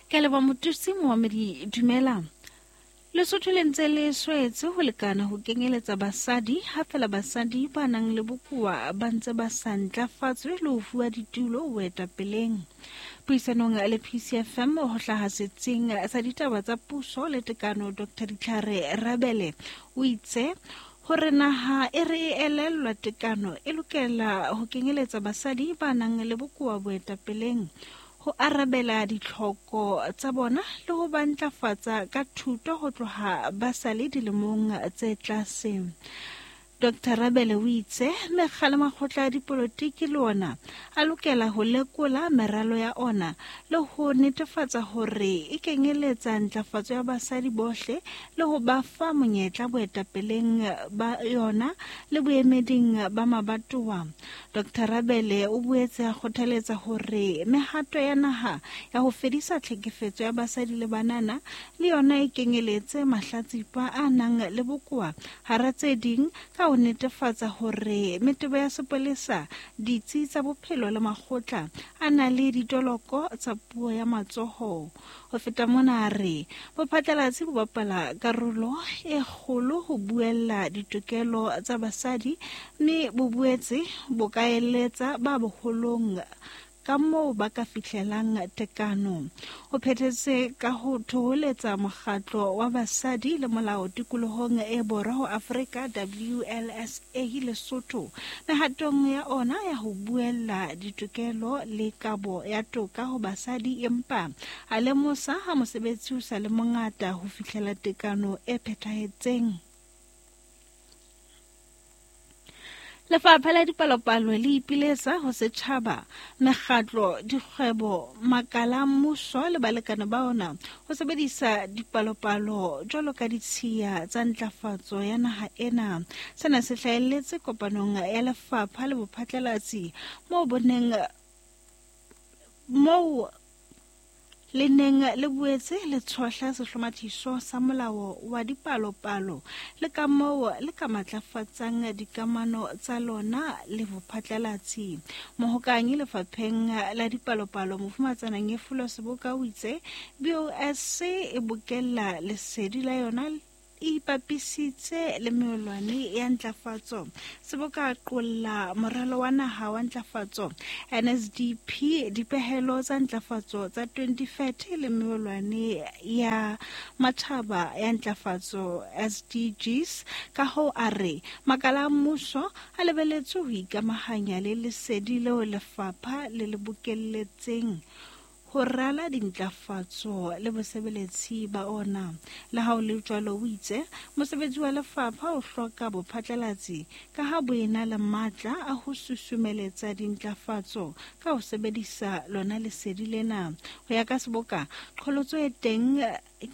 Ke leboha mothusi momamedi dumela. Lesotho le ntse le swetse ho lekana ho kenyeletsa basadi ha fela basadi ba nang le bokowa ba ntse ba sa ntlafatswe le ho fuwa ditulo boetapeleng. Puisanong le PCFM ho hlaha setsing sa ditaba tsa puso le tekano Dr. Ditlhare Rabele o itse hore naha e re e elellwa tekano e lokela ho kenyeletsa basadi ba nang le bokowa boetapeleng ho arabela ditlhoko tsa bona le ho ba ntlafatsa ka thuto ho tloha ba sa le dilemong tse tlase. Dr Rabele o itse mekga le makgotla a dipolotiki le ona a lokela ho lekola meralo ya ona le ho netefatsa hore e kenyeletsa ntlafatso ya basadi bohle le ho ba fa monyetla boetapeleng ba yona le boemeding ba mabatowa. Dr Rabele o boetse a kgothaletsa hore mehato ya naha ya ho fedisa tlhekefetso ya basadi le banana le yona e kenyeletse mahlatsipa a nang le bokowa hara tse ding ka ho netefatsa hore metebo ya sepolesa, ditsi tsa bophelo le makgotla a na le ditoloko tsa puo ya matsoho. Ho feta mona a re bophatlalatsi bo bapala karolo e kgolo ho buella ditokelo tsa basadi mme bo boetse bo ka eletsa ba boholong ka moo ba ka fihlelang tekano. O phethetse ka ho thoholetsa mokgatlo wa basadi le molao tikolohong e borwa ho Afrika WLSA Lesotho mehatong ya ona ya ho buella ditokelo le kabo ya toka ho basadi empa a lemosa ha mosebetsi o sa le mongata ho fihlela tekano e phethahetseng. Lefapha la Dipalopalo le ipiletsa ho setjhaba, mekgatlo, dikgwebo, makala a mmuso le balekane ba ona ho sebedisa dipalopalo jwalo ka ditshiya tsa ntlafatso ya naha ena. Sena se hlahelletse kopanong ya lefapha le bophatlalatsi moo boneng moo le neng le boetse le tshohla sehlomathiso sa molao wa dipalopalo le ka moo le ka matlafatsang dikamano tsa lona le bophatlalatsi. Mohokanyi lefapheng la dipalopalo Mofumatsana Nyefulo Seboka o itse BOS e bokella lesedi la yona e ipapisitse le meolwane ya ntlafatso. Seboka qolla moralo wa naha wa ntlafatso NSDP, dipehelo tsa ntlafatso tsa 2030 le meolwane ya matjhaba ya ntlafatso SDGs. Ka hoo a re makala a mmuso a lebeletswe ho ikamahanya le lesedi leo lefapha le le bokelletseng ho rala dintlafatso le bosebeletsi ba ona. Le ha ho le jwalo, o itse mosebetsi wa lefapha o hloka bophatlalatsi ka ha bo ena le matla a ho susumeletsa dintlafatso ka ho sebedisa lona lesedi lena. Ho ya ka Seboka, qholotso e teng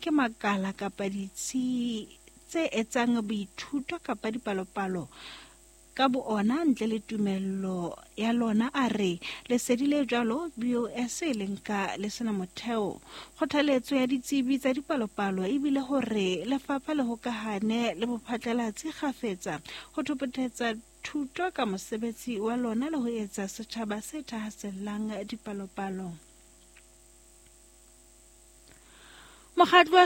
ke makala kapa ditsi tse etsang boithuto kapa dipalopalo ka boona ntle le tumello ya lona. A re lesedi le jwalo BOS e le nka le sena motheo. Kgothaletso ya ditsebi tsa dipalopalo ebile hore lefapha le hokahane le bophatlalatsi kgafetsa ho thopothetsa thuto ka mosebetsi wa lona le ho etsa setjhaba se thahasellang dipalopalo. Mokgatlo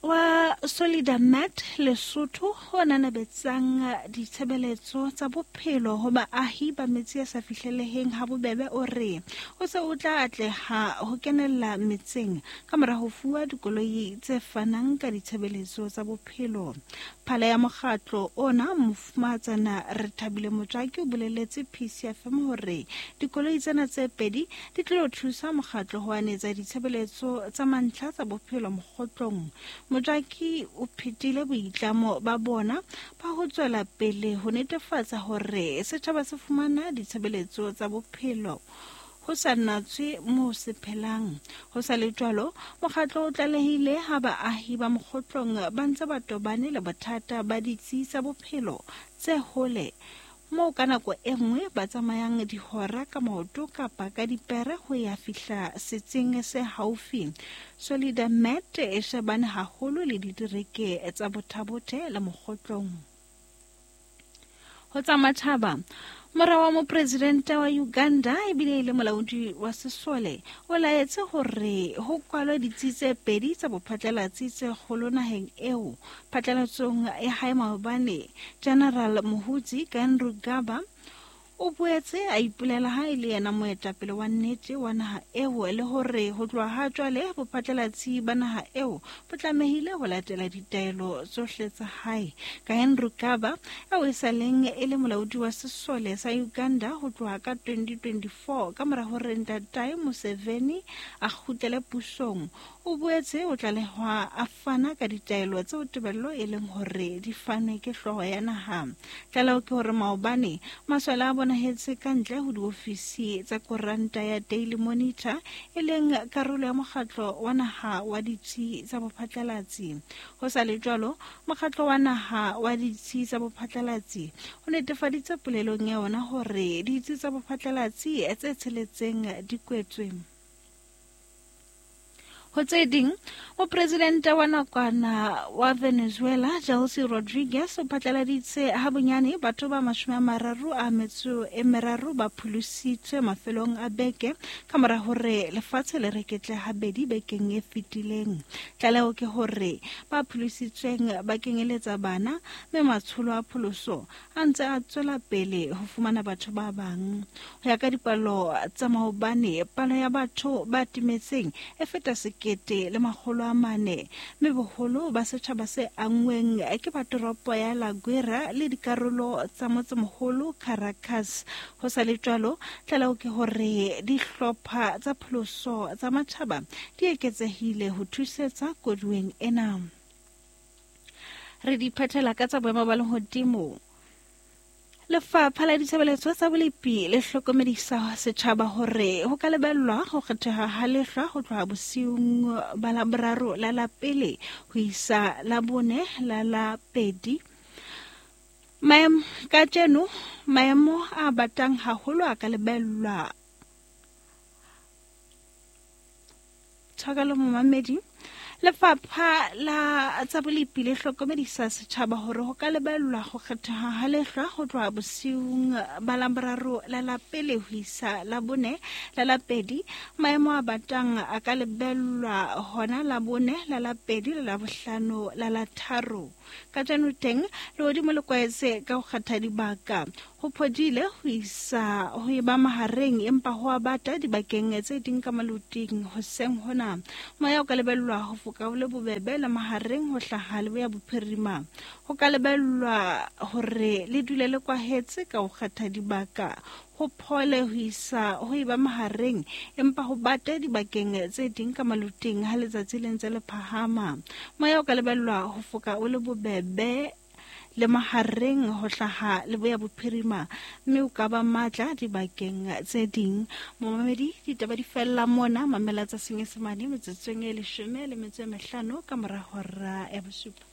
wa Solidamat Lesotho o nanabetsang ditshebeletso tsa bophelo ho baahi ba metse e sa fihleleheng ha bobebe o re o se o tla atleha ho kenella metseng ka mora ho fuwa dikoloi tse fanang ka ditshebeletso tsa bophelo. Phala ya mokgatlo ona Mofumahatsana Rethabile Motswaki o boleletse PCFM hore dikoloi tsena tse pedi di tlilo thusa mokgatlo ho anetsa ditshebeletso tsa mantlha tsa bophelo mokgotlong. Motswaki o phetile boitlamo ba bona ba ho tswela pele ho netefatsa hore setjhaba se fumana ditshebeletso tsa bophelo ho sa natswe moo se phelang. Ho sa le jwalo, mokgatlo o tlalehile ha baahi ba mokgotlong ba ntse ba tobane le bothata ba ditsi tsa bophelo tse hole moo ka nako e nngwe ba tsamayang dihora ka maoto kapa ka dipere ho ya fihla setsing se haufi. Solidamed e shebane haholo le ditereke tsa Bothabothe le Mokgotlong. Ho tsa matjhaba, mora wa mopresidente wa Uganda ebile e le molaodi wa sesole o laetse hore ho kwalwe ditsi tse pedi tsa bophatlalatsi tse kgolo naheng eo. Phatlalatsong ya hae maobane, General Muhoozi Kainerugaba o boetse a ipolela ha e le yena moetapele wa nnete wa naha eo le hore ho tloha ha jwale bophatlalatsi ba naha eo bo tlamehile ho latela ditaelo tsohle tsa hae. Kainerugaba, eo e sa leng e le molaodi wa sesole sa Uganda ho tloha ka 2024 ka mora hore ntatae Museveni a kgutlele pusong, o boetse o tlalehwa a fana ka ditaelo tseo tebello e leng hore di fanwe ke hlooho ya naha. Tlaleho ke hore maobane masole a bonahetse ka ntle ho diofisi tsa koranta ya Daily Monitor, e leng karolo ya mokgatlo wa naha wa ditsi tsa bophatlalatsi. Ho sa le jwalo, mokgatlo wa naha wa ditsi tsa bophatlalatsi o netefaditse polelong ya ona hore ditsi tsa bophatlalatsi tse tsheletseng di kwetswe. Ho tse ding, mopresidente wa nakwana wa Venezuela Delcy Rodriguez o phatlaladitse ha bonyane batho ba 33 ba pholositswe mafelong a beke ka mora hore lefatshe le reketle habedi bekeng e fetileng. Tlaleho ke hore ba pholositsweng ba kenyeletsa bana, mme matsholo a pholoso a ntse a tswela pele ho fumana batho ba bang. Ho ya ka dipalo tsa maobane, palo ya batho ba timetseng e feta 1400, mme boholo ba setjhaba se anngweng ke ba toropo ya La Guaira le dikarolo tsa motsemoholo Caracas. Ho sa le jwalo, tlaleho ke hore dihlopha tsa pholoso tsa matjhaba di eketsehile ho thusetsa koduweng ena. Re di phethela ka tsa boemo ba lehodimo. Lefapha la ditshebeletso tsa bolepi le hlokomedisa setjhaba hore ho ka lebellwa ho kgetheha ha lehlwa ho tloha bosiung ba Laboraro la la pele ho isa Labone la la pedi. Maemo kajeno, maemo a batang haholo a ka lebellwa. Tshwarelo momamedi. Lefapha la tsa bolepi le hlokomedisa setjhaba hore ho ka lebellwa ho kgetheha ha lehlwa ho tloha bosiung ba Laboraro la la pele ho isa Labone la la pedi. Maemo a batang a ka lebellwa hona Labone la la pedi le Labohlano la la tharo. Kajeno teng lehodimo le kwaetse ka ho kgetha dibaka. Ho phodile ho isa ho eba mahareng, empa ho a bata dibakeng tse ding ka maloting hoseng hona. Moya o ka lebellwa ho foka o le bobebe le mahareng ho hlaha leboya bophirima. Ho ka lebellwa hore le dule le kwahetse ka ho kgetha dibaka. Ho phole ho isa ho eba mahareng, empa ho bate dibakeng tse ding ka maloting ha letsatsi le ntse le phahama. Moya o ka lebellwa ho foka o le bobebe le mahareng ho hlaha leboya bophirima, mme o ka ba matla dibakeng tse ding. Momamedi, ditaba di fella mona. Mamela tsa Senyesemane metsotsong e 15 ka mora hora ya bosupa.